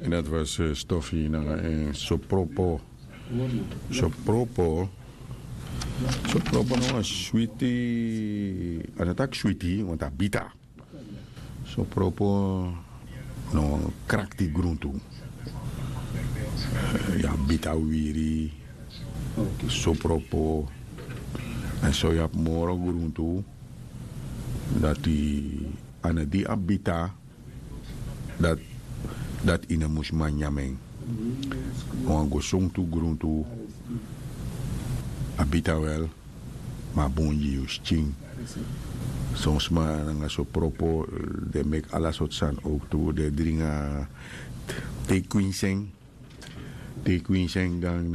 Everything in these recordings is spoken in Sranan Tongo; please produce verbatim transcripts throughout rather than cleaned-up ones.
En dat was eh, Stoffie nanga en Sopropo. Sopropo. Sopropo na wan switi. A no taki switi, want a bita. Sopropo na wan krakti gruntu. Eh, ya bita wiri. Sopropo. En so ya moro gruntu. Dati a no di a bita. Dati dati yu no mus man nyan en. Wan go sowtu gruntu. A bita wel. Ma a bun gi yu skin. Son sma nanga Sopropo, den meki ala sortu sani owktu, den dringi a te kwinsi en. Te kwinsi en dan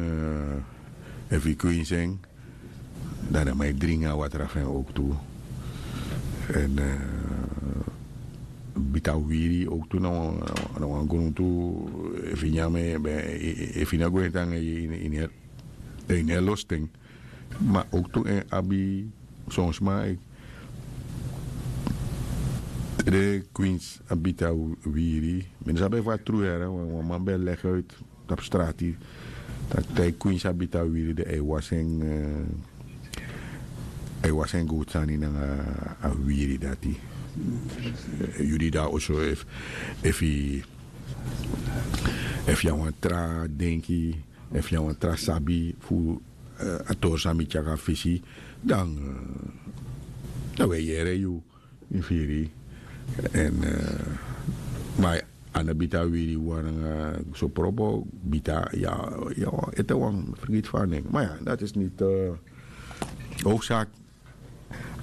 efu yu kwinsi en, dan den man e dringi a watra fu en owktu. En bita wiri owktu na wan gruntu. Efu yu nyan en, efu yu no go en tan ini en losten. Ma owktu en abi son sma. Te kwinsi a bita wiri, mi no sabi efu a tru yara wan man ben legi uit tapu strati. Taki te kwinsi a bita wiri, dan a e wasi en gowtu sani nanga a wiri dati. Yu di de na oso, efu yu na wan tra denki, efu yu na wan tra sabi fu a tori san mi tyari a fesi, dan dan wi e yere yu. Mi firi. En ma a no bita wiri wan nanga Sopropo, bita ya ete wan fergiti fu a nen. Ma ya, dati is niti howsaki.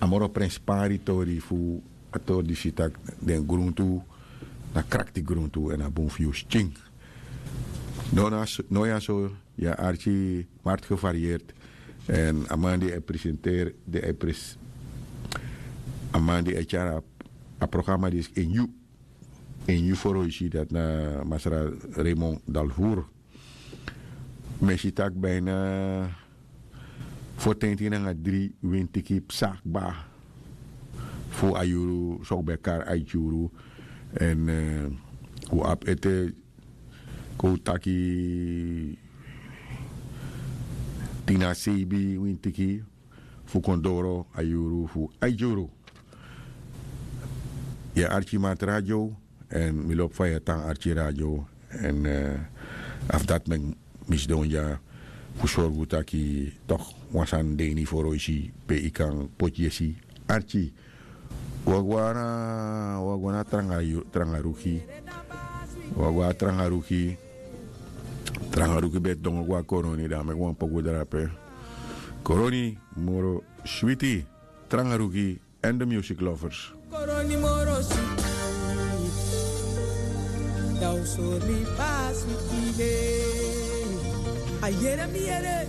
A moro prenspari tori fu a tori disi taki den gruntu na krakti gruntu en a bun fu yu skin. No na no ya so. Ya arki marti gevarieerd. En a man di e presenteri di e pres a man di e tyari a programma disi en yu en yu foroisi dati na masra Raymond Dalvour. Mi e si taki bijna fotenti nanga dri wintiki psa kba fu a yuru so un ben kari aiti yuru. En un abi ete kon un taki tin na seibi wintiki fu kon doro a yuru fu aiti yuru. Yu e arki marti radio. En mi lobi fa yu e tan arki radio. En afu dati meki mi sidon dya fu sorgu taki tok' wan sani de ini foroisi pe yu kan poti yesi arki. Wi o go na wi o go na trangaruki. Wi o go na trangaruki. Trangaruki ben e dongo go na koroni dan a meki wan poku drape. Koroni moro switi. Trangaruki and the music lovers. Koroni moro switi. Dan un sori mi fa a switi de. A yere mi yere.